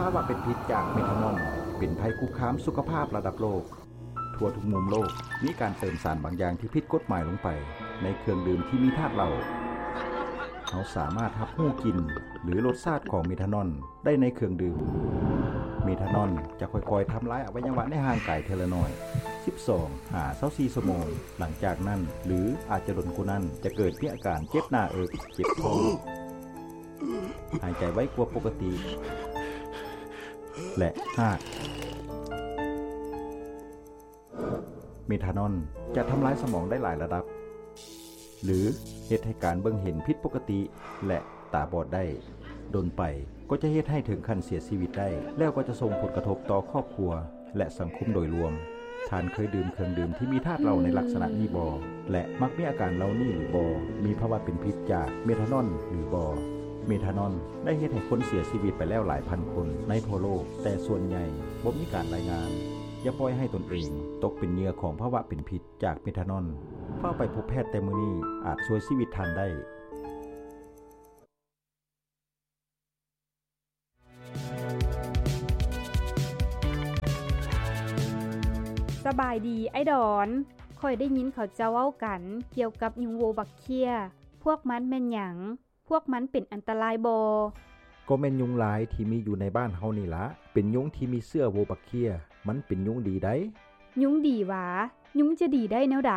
ພາວະເປັນພິດຈາກເມທານອນ ເປັນໄພຄຸກຄາມສຸຂະພາບລະດັບໂລກ. ທົ່ວທຸກມຸມໂລກ ມີການເຕີມສານບາງຢ່າງທີ່ຜິດກົດໝາຍລົງໄປໃນເຄື່ອງດື່ມທີ່ມີທາດເຫຼົ້າ. ເຮົາສາມາດຮັບຮູ້ກິ່ນ ຫຼື ລົດຊາດຂອງເມທານອນໄດ້ໃນເຄື່ອງດື່ມ. ເມທານອນຈະຄ່ອຍໆທຳລາຍອະໄວຍະວະໃນຮ່າງກາຍເທື່ອລະໜ້ອຍ, ສິບສອງຫາຊາວສີ່ຊົ່ວໂມງ. ຫຼັງຈາກນັ້ນ ຫຼື ອາດຈະດົນກວ່ານັ້ນ, ຈະເກີດມີອາການເຈັບໜ້າເອິກ, ເຈັບທ້ອງ, ຫາຍໃຈໄວກວ່າປົກກະຕິ ແລະ ຮາກ. ເມທານອນຈະທຳລາຍສະໝອງໄດ້ຫຼາຍລະດັບ ຫຼື ເຮັດໃຫ້ການເບິ່ງເຫັນຜິດປົກກະຕິ ແລະ ຕາບອດໄດ້. ດົນໄປກໍຈະເຮັດໃຫ້ເຖິງຂັ້ນເສຍຊີວິດໄດ້, ແລ້ວກໍຈະສົ່ງຜົນກະທົບຕໍ່ຄອບຄົວ ແລະ ສັງຄົມໂດຍລວມ. ທ່ານເຄີຍດື່ມເຄື່ອງດື່ມທີ່ມີທາດເຫຼົ້າໃນລັກສະນະນີ້ບໍ່ ແລະ ມັກມີອາການເຫຼົ່ານີ້ຫຼືບໍ່? ມີພາວະເປັນພິດຈາກເມທານອນຫຼືບໍ່? ເມທານອນໄດ້ເຮັດໃຫ້ຄົນເສຍຊີວິດໄປແລ້ວຫຼາຍພັນຄົນໃນທົ່ວໂລກ, ແຕ່ສ່ວນໃຫຍ່ບໍ່ມີການລາຍງານ. ຢ່າປ່ອຍໃຫ້ຕົນເອງຕົກເປັນເຫຍື່ອຂອງພາວະເປັນພິດຈາກເມທານອນ. ຟ້າວໄປພົບແພດແຕ່ມື້ນີ້ ອາດຊ່ວຍຊີວິດທ່ານໄດ້. ສະບາຍດີ ອ້າຍດອນ. ຂ້ອຍໄດ້ຍິນເຂົາເຈົ້າເວົ້າກັນກ່ຽວກັບຍຸງໂວບັກເຂ້ຍ. ພວກມັນແມ່ນຫຍັງ? ພວກມັນເປັນອັນຕະລາຍບໍ່? ກໍແມ່ນຍຸງລາຍທີ່ມີຢູ່ໃນບ້ານເຮົານີ້ລະ. ເປັນຍຸງທີ່ມີເຊື້ອໂວບັກເຂ້ຍ. ມັນເປັນຍຸງດີໃດ໋. ຍຸງດີຫວາ? ຍຸງຈະດີໄດ້ແນວໃດ?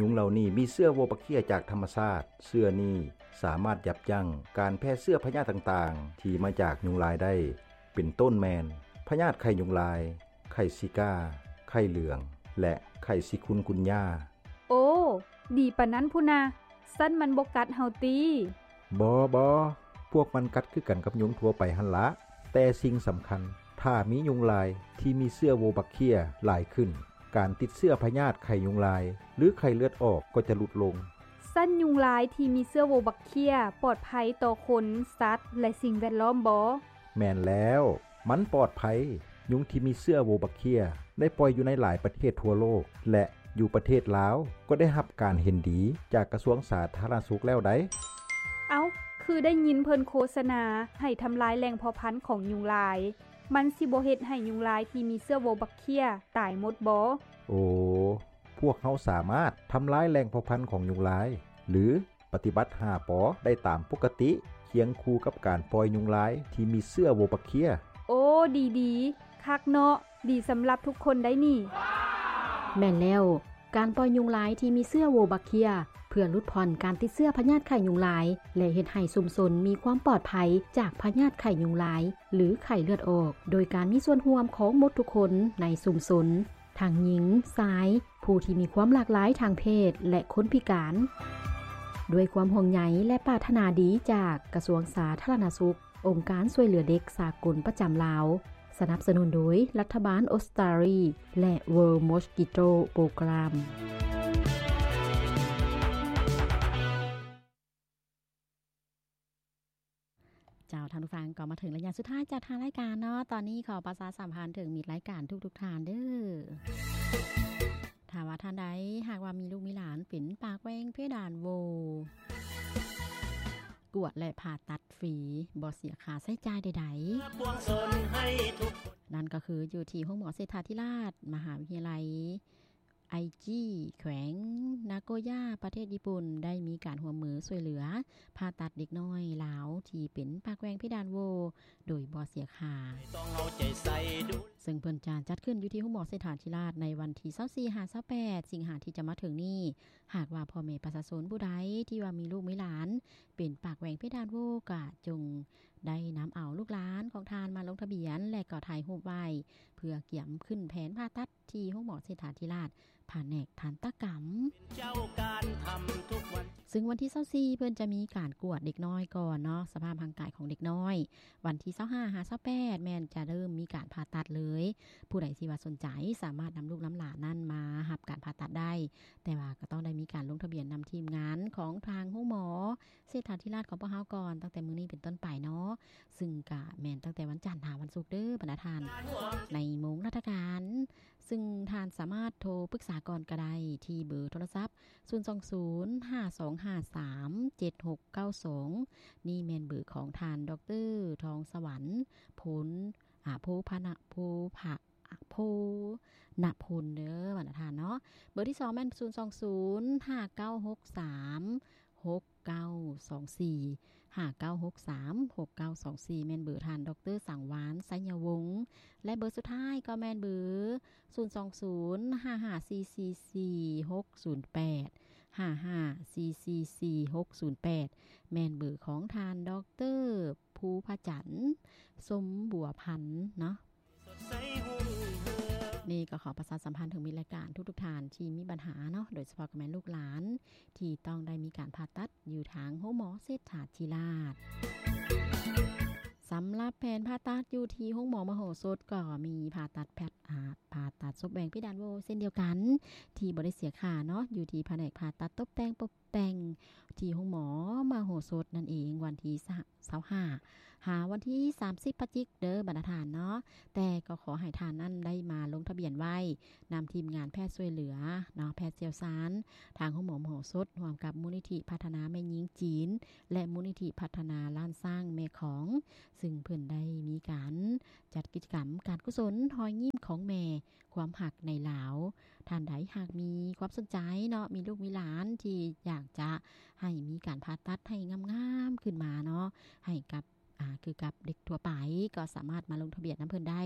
ຍຸງເຫຼົ່ານີ້ມີເຊື້ອໂວບັກເຂ້ຍຈາກທຳມະຊາດ. ເຊື້ອນີ້ສາມາດຢັບຢັ້ງການແຜ່ເຊື້ອພະຍາດຕ່າງໆທີ່ມາຈາກຍຸງລາຍໄດ້, ເປັນຕົ້ນແມ່ນ ພະຍາດໄຂ້ຍຸງລາຍ, ໄຂ້ຊິກາ, ໄຂ້ເຫຼືອງ ແລະ ໄຂ້ຊິຄຸນກຸນຍາ. ໂອ້ ດີປານນັ້ນພຸ້ນນະ. ຊັ້ນມັນບໍ່ກັດເຮົາຕິ? ບໍ່, ບໍ່. ພວກມັນກັດຄືກັນກັບຍຸງທົ່ວໄປຫັ້ນລະ. ແຕ່ສິ່ງສຳຄັນ, ຖ້າມີຍຸງລາຍທີ່ມີເຊື້ອໂວບັກເຂ້ຍຫຼາຍຂຶ້ນ, ການຕິດເຊື້ອພະຍາດໄຂ້ຍຸງລາຍ ຫຼື ໄຂ້ເລືອດອອກກໍຈະຫຼຸດລົງ. ຊັ້ນຍຸງລາຍທີ່ມີເຊື້ອໂວບັກເຂ້ຍປອດໄພຕໍ່ຄົນ, ສັດ ແລະ ສິ່ງແວດລ້ອມບໍ່? ແມ່ນແລ້ວ, ມັນປອດໄພ. ຍຸງທີ່ມີເຊື້ອໂວບັກເຂ້ຍໄດ້ປ່ອຍຢູ່ໃນຫຼາຍປະເທດທົ່ວໂລກ ແລະ ຢູ່ປະເທດລາວກໍໄດ້ຮັບການເຫັນດີຈາກກະຊວງສາທາລະນະສຸກແລ້ວໃດ໋. ເອົ້າ, ຄືໄດ້ຍິນເພິ່ນໂຄສະນາໃຫ້ທຳລາຍແຫຼ່ງເພາະພັນຂອງຍຸງລາຍ. ມັນຊິບໍ່ເຮັດໃຫ້ຍຸງລາຍທີ່ມີເຊື້ອໂວບັກເຂ້ຍຕາຍໝົດບໍ່? ໂອ, ພວກເຮົາສາມາດທຳລາຍແຫຼ່ງເພາະພັນຂອງຍຸງລາຍ ຫຼື ປະຕິບັດຫ້າ ປ ໄດ້ຕາມປົກກະຕິ, ຄຽງຄູ່ກັບການປ່ອຍຍຸງລາຍທີ່ມີເຊື້ອໂວບັກເຂ້ຍ. ໂອ້, ດີໆ, ຄັກເນາະ, ດີສຳລັບທຸກຄົນໄດ໋ນີ້. ແມ່ນແລ້ວ, ການປ່ອຍຍຸງລາຍທີ່ມີເຊື້ອໂວບັກເຂ້ຍ ເພື່ອຫຼຸດຜ່ອນການຕິດເຊື້ອພະຍາດໄຂ້ຍຸງລາຍ ແລະ ເຮັດໃຫ້ຊຸມຊົນມີຄວາມປອດໄພຈາກພະຍາດໄຂ້ຍຸງລາຍ ຫຼື ໄຂ້ເລືອດອອກ ໂດຍການມີສ່ວນຮ່ວມຂອງໝົດທຸກຄົນໃນຊຸມຊົນ. ທັງຍິງ, ຊາຍ, ຜູ້ທີ່ມີຄວາມຫຼາກຫຼາຍທາງເພດ ແລະ ຄົນພິການ. ດ້ວຍຄວາມຫ່ວງໃຍ ແລະ ປາດຖະໜາດີຈາກກະຊວງສາທາລະນະສຸກ, ອົງການຊ່ວຍເຫຼືອເດັກສາກົນປະຈຳລາວ, ສະໜັບສະໜູນໂດຍລັດຖະບານອົດສະຕາລີ ແລະ World Mosquito Program. ເຈົ້າ, ທ່ານຜູ້ຟັງ, ກໍມາເຖິງໄລຍະສຸດທ້າຍຈາກທາງລາຍການເນາະ. ຕອນນີ້ຂໍປະຊາສຳພັນເຖິງມິດລາຍການທຸກໆທ່ານເດີ້. ຖ້າວ່າທ່ານໃດຫາກວ່າມີລູກມີຫຼານເປັນປາກແຫວ່ງເພດານໂຫວ່ ກວດ ແລະ ຜ່າຕັດຟຣີ ບໍ່ເສຍຄ່າໃຊ້ຈ່າຍໃດໆ. ນັ້ນກໍຄືຢູ່ທີ່ໂຮງໝໍເສດຖາທິລາດ ມະຫາວິທະຍາໄລ ໄອຈີ ແຂວງນາໂກຍ່າ ປະເທດຍີ່ປຸ່ນ ໄດ້ມີການຮ່ວມມືຊ່ວຍເຫຼືອຜ່າຕັດເດັກນ້ອຍລາວທີ່ເປັນປາກແຫວ່ງເພດານໂຫວ່ໂດຍບໍ່ເສຍຄ່າ, ເຊິ່ງເພິ່ນຈະຈັດຂຶ້ນຢູ່ທີ່ໂຮງໝໍເສດຖາທິລາດໃນວັນທີຊາວສີ່ຫາຊາວແປດ ສິງຫາທີ່ຈະມາເຖິງນີ້. ຫາກວ່າພໍ່ແມ່ປະຊາຊົນຜູ້ໃດທີ່ວ່າມີລູກມີຫຼານເປັນປາກແຫວ່ງເພດານໂຫວ່ ກະຈົ່ງໄດ້ນຳເອົາລູກຫຼານຂອງທ່ານມາລົງທະບຽນ ແລະ ກໍຖ່າຍຮູບໄວ້ ເພື່ອກຽມຂຶ້ນແຜນຜ່າຕັດ ທີ່ໂຮງໝໍເສດຖາທິລາດ ພະແນກທັນຕະກຳ. ຊຶ່ງວັນທີຊາວສີ່ ເພິ່ນຈະມີການກວດເດັກນ້ອຍກ່ອນເນາະ, ສະພາບຮ່າງກາຍຂອງເດັກນ້ອຍ. ວັນທີຊາວຫ້າຫາຊາວແປດ ແມ່ນຈະເລີ່ມມີການຜ່າຕັດເລີຍ. ຜູ້ໃດທີ່ວ່າສົນໃຈ ສາມາດນຳລູກນຳຫຼານນັ້ນມາຮັບການຜ່າຕັດໄດ້, ແຕ່ວ່າກໍຕ້ອງໄດ້ມີການລົງທະບຽນນຳທີມງານຂອງທາງໂຮງໝໍ ເສດຖາທິລາດຂອງພວກເຮົາກ່ອນ ຕັ້ງແຕ່ມື້ນີ້ເປັນຕົ້ນໄປເນາະ. ຊຶ່ງກະແມ່ນຕັ້ງແຕ່ວັນຈັນຫາວັນສຸກເດີບັນດາທ່ານ ໃນໂມງລາຊະການ ຊຶ່ງທ່ານສາມາດໂທປຶກສາກ່ອນກໍໄດ້ ທີ່ເບີໂທລະສັບ ສູນສອງສູນ ຫ້າສອງຫ້າສາມ ເຈັດຫົກເກົ້າສອງ ນີ້ແມ່ນເບີຂອງທ່ານ ດອກເຕີ ທອງສະຫວັນ ໂພນ ອາ ໂພພະນະ ໂພພະ ອາ ໂພນະພົນເດີບັນດາທ່ານເນາະ. ເບີທີສອງແມ່ນ ສູນສອງສູນ ຫ້າເກົ້າຫົກສາມ ຫົກເກົ້າສອງສີ່ ຫ້າເກົ້າຫົກສາມ ຫົກເກົ້າສອງສີ່ ແມ່ນເບີທ່ານ ດອກເຕີ ສັງວານ ໄຊຍະວົງ ແລະ ເບີສຸດທ້າຍກໍແມ່ນເບີ ສູນສອງສູນ ຫ້າຫ້າສີ່ສີ່ສີ່ ຫົກສູນແປດ ຫ້າຫ້າສີ່ສີ່ສີ່ ຫົກສູນແປດ ແມ່ນເບີຂອງທ່ານ ດອກເຕີ ພູພະຈັນ ສົມບົວພັນເນາະ. ນີ້ກໍຂໍປະຊາສຳພັນເຖິງມິດລາຍການທຸກໆທ່ານທີ່ມີບັນຫາເນາະ ໂດຍສະເພາະກໍແມ່ນລູກຫຼານທີ່ຕ້ອງໄດ້ມີການຜ່າຕັດຢູ່ທາງໂຮງໝໍເສດຖາທິລາດ. ສຳລັບແຜນຜ່າຕັດຢູ່ທີ່ໂຮງໝໍມະໂຫສົດ ກໍມີຜ່າຕັດແພດ ອາ ຜ່າຕັດສົບແຫວ່ງເພດານໂຫວ່ເຊັ່ນດຽວກັນ ທີ່ບໍ່ໄດ້ເສຍຄ່າເນາະ ຢູ່ທີ່ພະແນກຜ່າຕັດຕົບແຕ່ງ ແຕ່ງທີ່ໂຮງໝໍມະໂຫສົດນັ້ນເອງ ວັນທີຊາວຫ້າ ຫາວັນທີສາມສິບພະຈິກເດີບັນດາທ່ານເນາະ. ແຕ່ກໍຂໍໃຫ້ທ່ານນັ້ນໄດ້ມາລົງທະບຽນໄວ້ນຳທີມງານແພດຊ່ວຍເຫຼືອເນາະ ແພດຊ່ຽວຊານ ທາງໂຮງໝໍມະໂຫສົດ ຮ່ວມກັບມູນນິທິພັດທະນາແມ່ຍິງຈີນ ແລະ ມູນນິທິພັດທະນາລ້ານຊ້າງແມ່ຂອງ ຊຶ່ງເພິ່ນໄດ້ມີການຈັດກິດຈະກຳການກຸສົນຮອຍຍິ້ມຂອງແມ່ ຄວາມຮັກໃນລາວ. ທ່ານໃດຫາກມີຄວາມສົນໃຈເນາະ ມີລູກມີຫຼານທີ່ຢາກຈະໃຫ້ມີການຜ່າຕັດໃຫ້ງາມໆຂຶ້ນມາເນາະ ໃຫ້ກັບ ອາ ຄືກັບເດັກທົ່ວໄປ ກໍສາມາດມາລົງທະບຽນນຳເພິ່ນໄດ້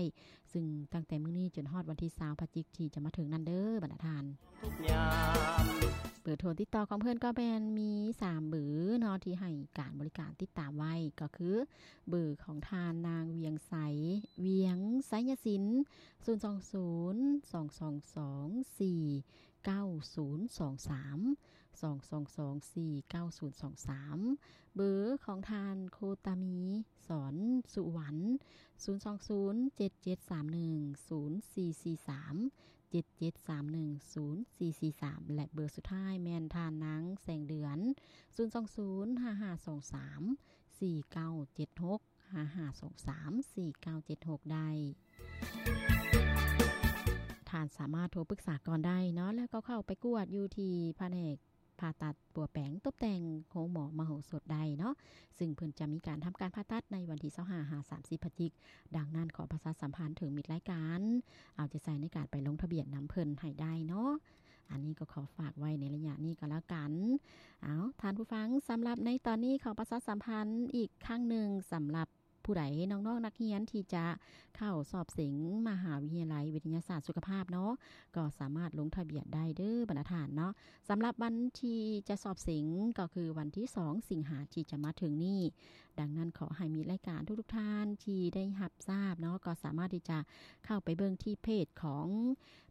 ຊຶ່ງຕັ້ງແຕ່ມື້ນີ້ຈົນຮອດວັນທີຊາວພະຈິກທີ່ຈະມາເຖິງນັ້ນເດີບັນດາທ່ານ. ເບີໂທຕິດຕໍ່ຂອງເພິ່ນກໍແມ່ນມີສາມເບີເນາະ ທີ່ໃຫ້ການບໍລິການຕິດຕາມໄວ້ ກໍຄືເບີຂອງທ່ານນາງ ວຽງໄຊ ວຽງໄຊຍະສິນ ສູນສອງສູນ ສອງສອງສອງ ສີ່ເກົ້າສູນສອງສາມ ສອງສອງສອງສີ່ເກົ້າສູນສອງສາມ ເບີຂອງທ່ານ ໂຄຕາມີ ສອນສຸວັນ ສູນສອງສູນ ເຈັດເຈັດສາມໜຶ່ງ ສູນສີ່ສີ່ສາມ ເຈັດເຈັດສາມໜຶ່ງ ສູນສີ່ສີ່ສາມ ແລະ ເບີສຸດທ້າຍແມ່ນທ່ານນາງ ແສງເດືອນ ສູນສອງສູນ ຫ້າຫ້າສອງສາມ ສີ່ເກົ້າເຈັດຫົກ ຫ້າຫ້າສອງສາມ ສີ່ເກົ້າເຈັດຫົກ ໄດ້. ທ່ານສາມາດໂທປຶກສາກ່ອນໄດ້ເນາະ ແລ້ວກໍເຂົ້າໄປກວດຢູ່ທີ່ພະແນກຜ່າຕັດປົວແປງຕົບແຕ່ງໂຮງໝໍມະໂຫສົດໄດ້ເນາະ ຊຶ່ງເພິ່ນຈະມີການທຳການຜ່າຕັດໃນວັນທີຊາວຫ້າ ຫາ ສາມສິບພະຈິກ. ດັ່ງນັ້ນ ຂໍປະຊາສຳພັນເຖິງມິດລາຍການ ເອົາໃຈໃສ່ໃນການໄປລົງທະບຽນນຳເພິ່ນໃຫ້ໄດ້ເນາະ. ອັນນີ້ກໍຂໍຝາກໄວ້ໃນໄລຍະນີ້ກໍແລ້ວກັນ. ເອົາ ທ່ານຜູ້ຟັງ, ສຳລັບໃນຕອນນີ້ ຂໍປະຊາສຳພັນອີກຄັ້ງໜຶ່ງ ສຳລັບຜູ້ໃດ ນ້ອງໆນັກຮຽນທີ່ຈະເຂົ້າສອບເສັງມະຫາວິທະຍາໄລວິທະຍາສາດສຸຂະພາບເນາະ ກໍສາມາດລົງທະບຽນໄດ້ເດີບັນດາທ່ານເນາະ. ສຳລັບວັນທີ່ຈະສອບເສັງກໍຄືວັນທີສອງສິງຫາທີ່ຈະມາເຖິງນີ້. ດັ່ງນັ້ນ ຂໍໃຫ້ມິດລາຍການທຸກໆທ່ານທີ່ໄດ້ຮັບຊາບເນາະ ກໍສາມາດທີ່ຈະເຂົ້າໄປເບິ່ງທີ່ເພຈຂອງ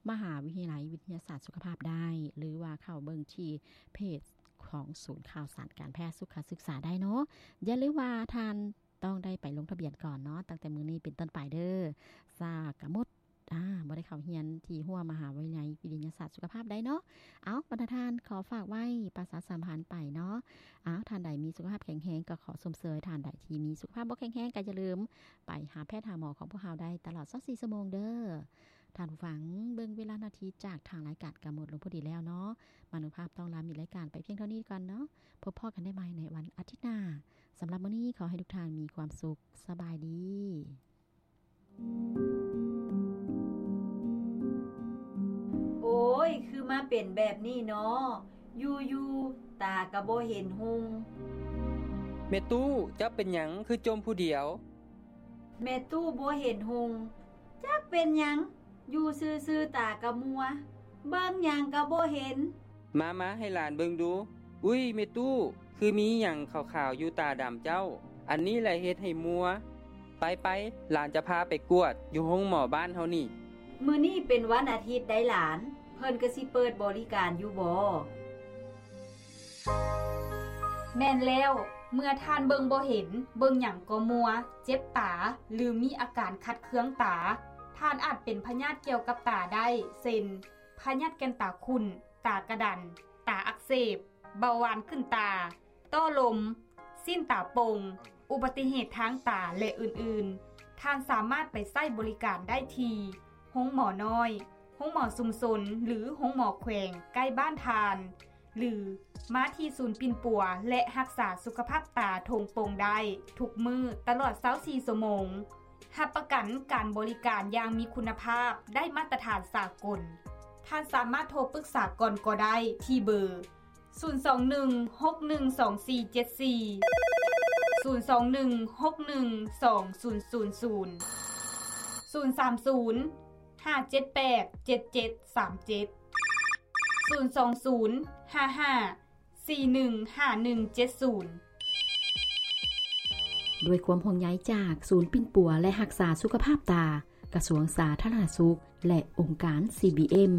ມະຫາວິທະຍາໄລວິທະຍາສາດສຸຂະພາບໄດ້ ຫຼືວ່າເຂົ້າເບິ່ງທີ່ເພຈຂອງສູນຂ່າວສານການແພດສຸຂະສຶກສາໄດ້ເນາະ. ຢ່າລືມວ່າທ່ານຕ້ອງໄດ້ໄປລົງທະບຽນກ່ອນເນາະ ຕັ້ງແຕ່ມື້ນີ້ເປັນຕົ້ນໄປເດີ. ຊາກະໝົດ ອາ ບໍ່ໄດ້ເຂົ້າຮຽນທີ່ຮົ້ວມະຫາວິທະຍາໄລວິທະຍາສາດສຸຂະພາບໄດ້ເນາະ. ເອົາ ບັນດາທ່ານ ຂໍຝາກໄວ້ ປະຊາສຳພັນໄປເນາະ. ເອົາ ທ່ານໃດມີສຸຂະພາບແຂງແຮງ ກໍຂໍຊົມເຊີຍ, ທ່ານໃດທີ່ມີສຸຂະພາບບໍ່ແຂງແຮງ ກໍຢ່າລືມໄປຫາແພດຫາໝໍຂອງພວກເຮົາໄດ້ຕະຫຼອດຊາວສີ່ຊົ່ວໂມງເດີ. ທ່ານຜູ້ຟັງ, ເບິ່ງເວລານາທີຈາກທາງລາຍການກໍໝົດລົງພໍດີແລ້ວເນາະ. ມານຸພາບຕ້ອງລາມິດລາຍການໄປພຽງເທົ່ານີ້ກ່ອນເນາະ. ພົບພໍ້ກັນໄດ້ໃໝ່ໃນວັນອາທິດໜ້າ. ສຳລັບມື້ນີ້ ຂໍໃຫ້ທຸກທ່ານມີຄວາມສຸກ. ສະບາຍດີ. ໂອ້ຍ ຄືມາເປັນແບບນີ້ເນາະ, ຢູ່ໆ ຕາກໍບໍ່ເຫັນຮຸ່ງ. ແມ່ຕູ້ ເຈົ້າເປັນຫຍັງຄືຈົ່ມຜູ້ດຽວ? ແມ່ຕູ້ບໍ່ເຫັນຮຸ່ງ, ຈັກເປັນຫຍັງ, ຢູ່ຊື່ໆ ຕາກໍມົວ, ເບິ່ງຫຍັງກໍບໍ່ເຫັນ. ມາໆ ໃຫ້ຫຼານເບິ່ງດູ. ອຸ້ຍ ແມ່ຕູ້ ຄືມີຫຍັງຂາວໆຢູ່ຕາດຳເຈົ້າ? ອັນນີ້ແຫຼະເຮັດໃຫ້ມົວ. ໄປໆ ຫຼານຈະພາໄປກວດຢູ່ໂຮງໝໍບ້ານເຮົານີ້. ມື້ນີ້ເປັນວັນອາທິດໃດຫຼານ, ເພິ່ນກໍຊິເປີດບໍລິການຢູ່ບໍ? ແມ່ນແລ້ວ, ເມື່ອທ່ານເບິ່ງບໍ່ເຫັນ, ເບິ່ງຫຍັງກໍມົວ, ເຈັບຕາ ຫຼື ມີອາການຂັດເຄືອງຕາ, ທ່ານອາດເປັນພະຍາດກ່ຽວກັບຕາໄດ້ ເຊັ່ນ ພະຍາດແກ່ນຕາຂຸ້ນ, ຕາກະດັນ, ຕາອັກເສບ, ເບົາຫວານຂຶ້ນຕາ, ຕ້ອລົມ, ຊີ້ນຕາປົ່ງ, ອຸບັດຕິເຫດທາງຕາ ແລະ ອື່ນໆ, ທ່ານສາມາດໄປໃຊ້ບໍລິການໄດ້ທີ່ໂຮງໝໍນ້ອຍ, ໂຮງໝໍຊຸມຊົນ ຫຼື ໂຮງໝໍແຂວງໃກ້ບ້ານທ່ານ ຫຼື ມາທີ່ສູນປິ່ນປົວ ແລະ ຮັກສາສຸຂະພາບຕາທົ່ງປົງໄດ້ທຸກມື້ຕະຫຼອດຊາວສີ່ຊົ່ວໂມງ. ຮັບປະກັນການບໍລິການຢ່າງມີຄຸນນະພາບ, ໄດ້ມາດຕະຖານສາກົນ. ທ່ານສາມາດໂທປຶກສາກ່ອນກໍໄດ້ທີ່ເບີ ສູນສອງໜຶ່ງ ຫົກໜຶ່ງ ສອງສີ່ເຈັດສີ່, ສູນສອງໜຶ່ງ ຫົກໜຶ່ງ ສອງສູນສູນສູນ, ສູນສາມສູນ ຫ້າເຈັດແປດ ເຈັດເຈັດສາມເຈັດ, ສູນສອງສູນ ຫ້າຫ້າສີ່ໜຶ່ງຫ້າໜຶ່ງເຈັດສູນ. ດ້ວຍຄວາມຫ່ວງໃຍຈາກສູນປິ່ນປົວ ແລະ ຮັກສາສຸຂະພາບຕາ ກະຊວງສາທາລະນະສຸກ ແລະ ອົງການ CBM.